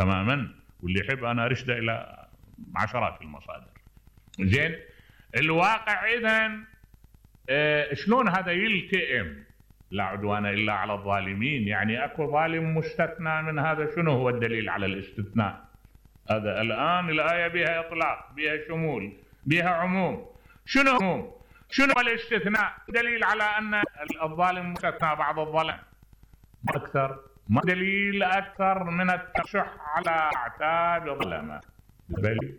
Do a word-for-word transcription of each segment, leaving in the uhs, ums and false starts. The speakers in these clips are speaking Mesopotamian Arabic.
تماما، واللي يحب انا ارشده الى عشرات المصادر. زين الواقع اذا اه شلون هذا يلتئم؟ لا عدوان الا على الظالمين، يعني اكو ظالم مستثنى من هذا. شنو هو الدليل على الاستثناء؟ هذا الان الايه بها اطلاق، بها شمول، بها عموم. شنو عموم؟ شنو الاستثناء؟ دليل على ان الظالم مستثنى بعض الظلم اكثر، ما دليل اكثر من الترشح على اعتاب الظلمه. بل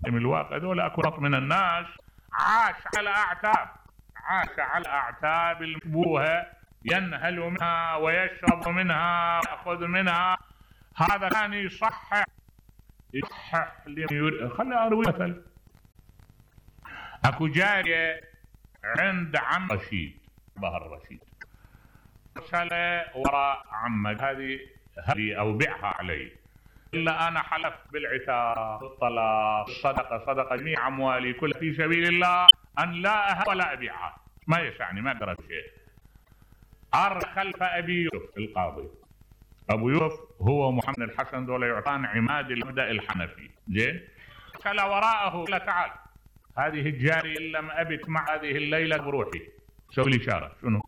من الواقع دول اكو نط من الناس عاش على اعتاب، عاش على اعتاب المشبوهه، ينهل منها ويشرب منها ويأخذ منها. هذا كان يصحح يصحح خليني اروي مثل. اكو جاريه عند عم رشيد، بهر رشيد، ارسل وراء عمك هذه هذه او بيعها علي، الا انا حلفت بالعتاق، بالطلاق، الصدقه، صدقه جميع اموالي كلها في سبيل الله، ان لا اهب ولا ابيعها، ما يسعني، ما اقدر شيء. ار خلف ابي يوسف القاضي، ابو يوسف هو محمد الحسن، دول يعطان عماد المبدا الحنفي. زين ارسل وراءه، قال تعال هذه الجاريه ان لم ابت مع هذه الليله بروحي، سوي لي اشاره. شنو؟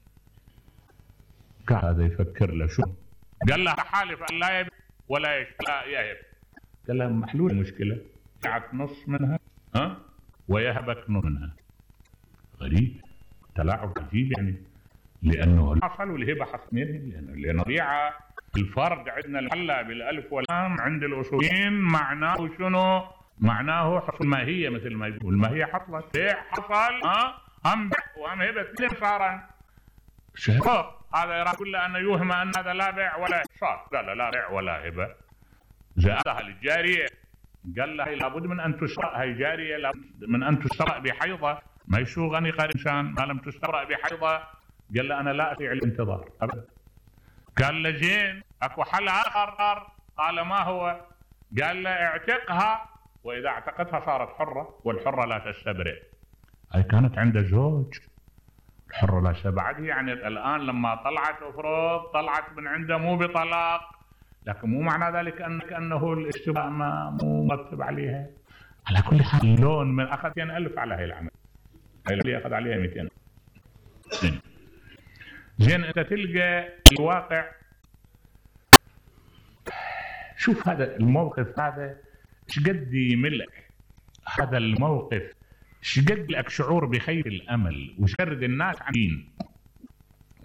قال هذا يفكر له شنو؟ قال له حالف ان لا يبت ولا لا يهب. قال له محلول المشكله، يعك نص منها ها ويهبك نص منها. غريب، تلاعب عجيب يعني، لانه حصل والهبه حصلين، لانه لان الطبيعه الفرد عندنا المحلى بالالف واللام عند الاصوليين معناه شنو؟ معناه حصل الماهيه، مثل ما يقول الماهيه حصلت، بيع حصل ها هم بيع وهم هبه اثنين صار شهر. هذا يرى كله انه يوهم ان هذا لا بيع ولا صار، قال لا بيع ولا هبه. زادها للجاريه، قال لها لابد من ان تسرق، هي جاريه لابد من ان تسرق بحيضه، ما يسوغ ان يقال انسان ما لم تسترق بحيضه. قال له انا لا اطيع الانتظار ابدا. قال له زين اكو حل اخر، قال ما هو؟ قال له اعتقها، واذا اعتقتها صارت حره، والحره لا تستبرئ. هي كانت عنده زوج، الحره لا تستبرئ، يعني الان لما طلعت افرض طلعت من عنده مو بطلاق، لكن مو معنى ذلك انك انه الاستباء ما مو مرتب عليها. على كل حال لون من اخذ مئتين ألف على هي العمل، هي اللي اخذ عليها مئتين. زين زين انت تلقى الواقع. شوف هذا الموقف، هذا ايش قد يملك هذا الموقف، ايش قد لك شعور بخير الامل وشرد الناس عن دين.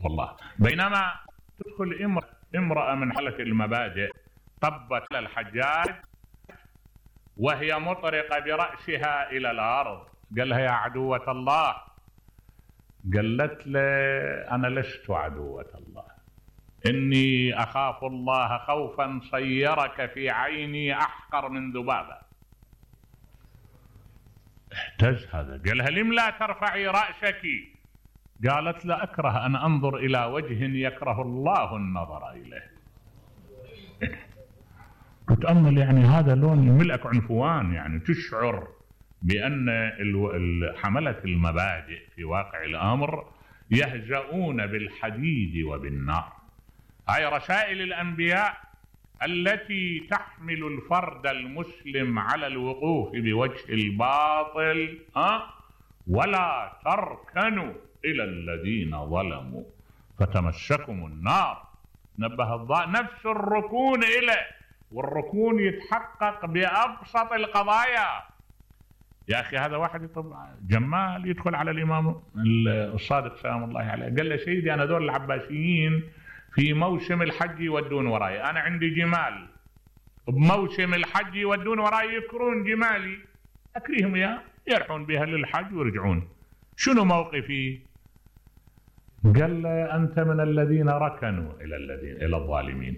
والله بينما تدخل امرأة, امرأة من حالة المبادئ طبت للحجاج وهي مطرقة برأسها إلى الأرض، قال لها يا عدوة الله، قالت له أنا لست عدوة الله، إني أخاف الله خوفا صيرك في عيني أحقر من ذبابة. اهتز هذا، قال لها لم لا ترفعي رأسك؟ قالت لا أكره أن أنظر إلى وجه يكره الله النظر إليه. تتأمل يعني هذا لون يملأك عنفوان، يعني تشعر بأن حملة المبادئ في واقع الأمر يهزؤون بالحديد وبالنار. هاي رسائل الأنبياء التي تحمل الفرد المسلم على الوقوف بوجه الباطل ها ولا تركنوا إلى الذين ظلموا فتمسكم النار. نبه الضاء نفس الركون إليه، والركون يتحقق بأبسط القضايا. يا أخي هذا واحد طبعا جمال يدخل على الإمام الصادق سلام الله عليه، قال له سيدي أنا دول العباسيين في موسم الحج يودون وراي، أنا عندي جمال بموسم الحج يودون وراي يكرون جمالي، أكريهم يا يرحون بها للحج ويرجعون، شنو موقفي؟ قال له أنت من الذين ركنوا إلى الذين إلى الظالمين،